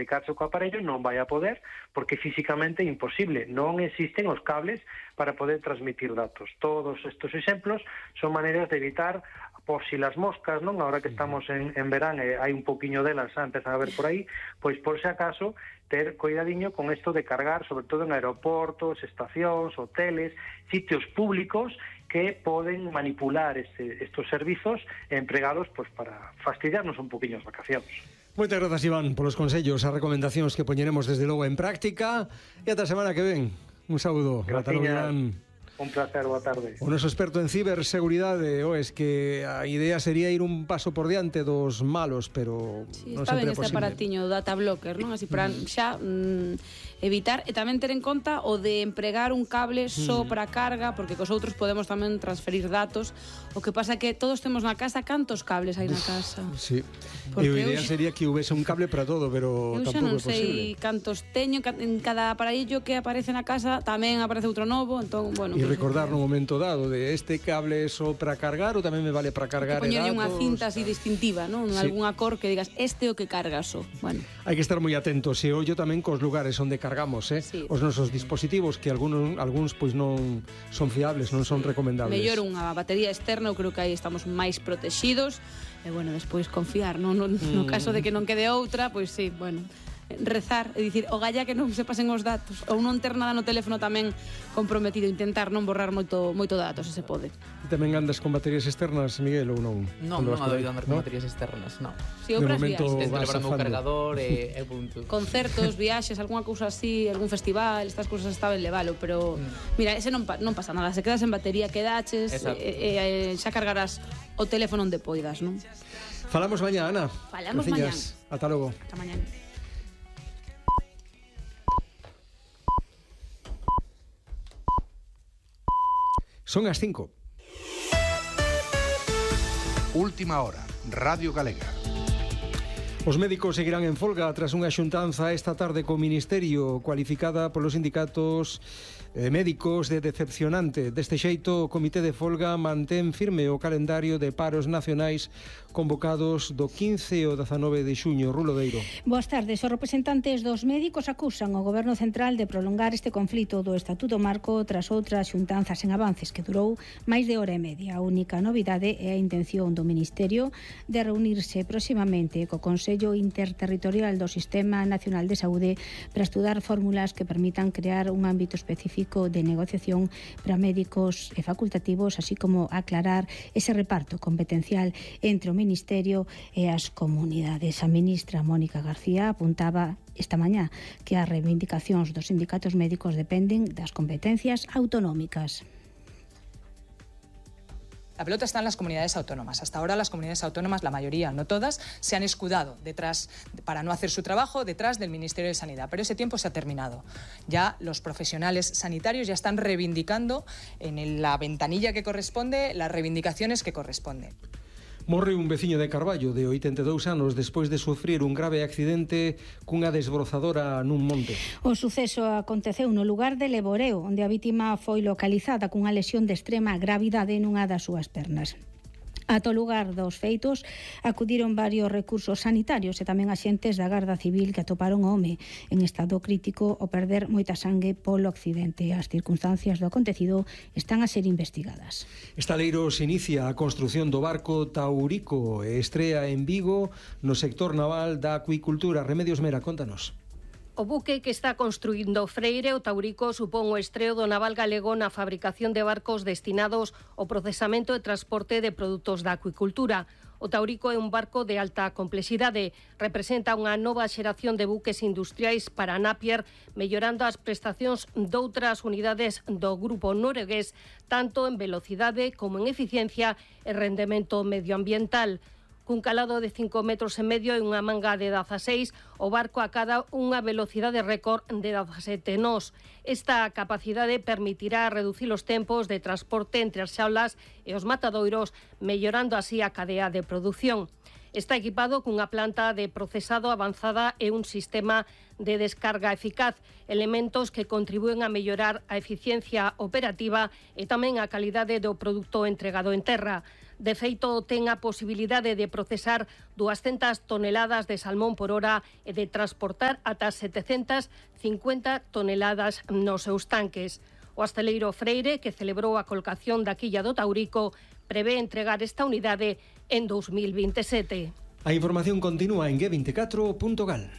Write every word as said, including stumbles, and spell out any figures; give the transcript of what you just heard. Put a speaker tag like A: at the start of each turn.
A: comunicarse co aparello non vai a poder, porque físicamente é imposible, non existen os cables para poder transmitir datos. Todos estes exemplos son maneiras de evitar, por si las moscas, non? Ahora que estamos en, en verán e hai un poquinho delas, xa empezan a ver por aí, pois por si acaso ter cuidadiño con isto de cargar, sobre todo en aeroportos, estacións, hoteles, sitios públicos que poden manipular este, estos servizos empregados pues, para fastidiarnos un poquinho as vacacións.
B: Moitas grazas, Iván, polos consellos, as recomendacións que poñeremos desde logo en práctica, e ata a semana que ven. Un saúdo.
A: Gracias, Iván. Un placer, boa tarde.
B: O noso experto en ciberseguridade, o es que a idea sería ir un paso por diante dos malos, pero
C: sí,
B: non
C: está
B: sempre
C: ben
B: é
C: este
B: posible.
C: aparatiño data blocker, non? Así para xa mm, evitar e tamén ter en conta o de empregar un cable só para carga, porque cos outros podemos tamén transferir datos. O que pasa é que todos temos na casa, cantos cables hai na casa?
B: Sí.
C: Porque
B: E a idea
C: eu...
B: sería que houvese un cable para todo, pero
C: eu xa
B: tampouco
C: non
B: é posible.
C: sei cantos teño, en cada aparello que aparece na casa tamén aparece outro novo, entón, bueno...
B: E
C: pues,
B: recordar no momento dado de este cable é só para cargar ou tamén me vale para cargar e
C: poñerlle
B: datos.
C: unha cinta así distintiva, non?
B: Sí.
C: Algún acor que digas, este é o que carga só. Bueno.
B: Hai que estar moi atentos e ollo tamén cos lugares onde cargamos, eh?
C: Sí.
B: Os nosos dispositivos que algúns algúns pois non son fiables, non son recomendables.
C: Mellor unha batería externa, eu creo que aí estamos máis protegidos. E bueno, despois confiar, non? No, no caso de que non quede outra, pois sí, bueno, rezar, é dicir, o galla que non se pasen os datos, ou non ter nada no teléfono tamén comprometido, intentar non borrar moito moito datos, se se pode.
B: Tamén andas con baterías externas, Miguel, ou non?
D: Non, non adoito andar con baterías externas, non.
C: Si, outras viaxes.
D: Intento levar o meu cargador e, e punto.
C: Concertos, viaxes, algunha cousa así, algún festival, estas cousas está ben levalo, pero mm. mira, ese non, non pasa nada, se quedas en batería, quedaches, e, e, e xa cargarás o teléfono onde poidas, non?
B: Falamos mañá, Ana.
C: Falamos mañá.
B: Ata logo.
C: Ata mañá.
B: Son as cinco.
E: Última hora, Radio Galega.
B: Os médicos seguirán en folga tras unha xuntanza esta tarde co Ministerio cualificada polos sindicatos eh, médicos de decepcionante. Deste xeito, o Comité de Folga mantén firme o calendario de paros nacionais convocados do quince ao dezanove de xuño. Rulo Deiro.
F: Boas tardes. Os representantes dos médicos acusan o Goberno Central de prolongar este conflito do Estatuto Marco tras outras xuntanzas en avances que durou máis de hora e media. A única novidade é a intención do Ministerio de reunirse próximamente co Consello Interterritorial do Sistema Nacional de Saúde para estudar fórmulas que permitan crear un ámbito específico de negociación para médicos e facultativos, así como aclarar ese reparto competencial entre o Ministerio e as comunidades. A ministra Mónica García apuntaba esta mañá que as reivindicacións dos sindicatos médicos dependen das competencias autonómicas.
G: La pelota está en las comunidades autónomas. Hasta ahora las comunidades autónomas, la mayoría, no todas, se han escudado detrás, para no hacer su trabajo, detrás del Ministerio de Sanidad. Pero ese tiempo se ha terminado. Ya los profesionales sanitarios ya están reivindicando en la ventanilla que corresponde las reivindicaciones que corresponden.
B: Morre un veciño de Carballo de oitenta e dous anos despois de sufrir un grave accidente cunha desbrozadora nun monte.
F: O suceso aconteceu no lugar de Leboreo, onde a vítima foi localizada cunha lesión de extrema gravidade nunha das súas pernas. Ata o lugar dos feitos acudiron varios recursos sanitarios e tamén axentes da Garda Civil que atoparon o home en estado crítico ao perder moita sangue polo accidente. As circunstancias do acontecido están a ser investigadas.
B: Estaleiros inicia a construción do barco Taurico e estrea en Vigo no sector naval da acuicultura. Remedios Mera, contanos.
H: O buque que está construindo Freire, o Taurico, supón o estreo do naval galego na fabricación de barcos destinados ao procesamento e transporte de produtos da acuicultura. O Taurico é un barco de alta complexidade, representa unha nova xeración de buques industriais para Napier, mellorando as prestacións doutras unidades do grupo noruegués, tanto en velocidade como en eficiencia e rendemento medioambiental. Cun calado de cinco metros e medio e unha manga de dezaseis, o barco acada unha velocidade récord de dezasete nós. Esta capacidade permitirá reducir os tempos de transporte entre as xaulas e os matadoiros, mellorando así a cadea de produción. Está equipado cunha planta de procesado avanzada e un sistema de descarga eficaz, elementos que contribúen a mellorar a eficiencia operativa e tamén a calidade do produto entregado en terra. De feito, ten a posibilidade de procesar doscientas toneladas de salmón por hora e de transportar ata setecentas cincuenta toneladas nos seus tanques. O hostaleiro Freire, que celebrou a colocación da quilla do Taurico, prevé entregar esta unidade en dos mil veintisiete.
B: A información continúa en G veinticuatro punto gal.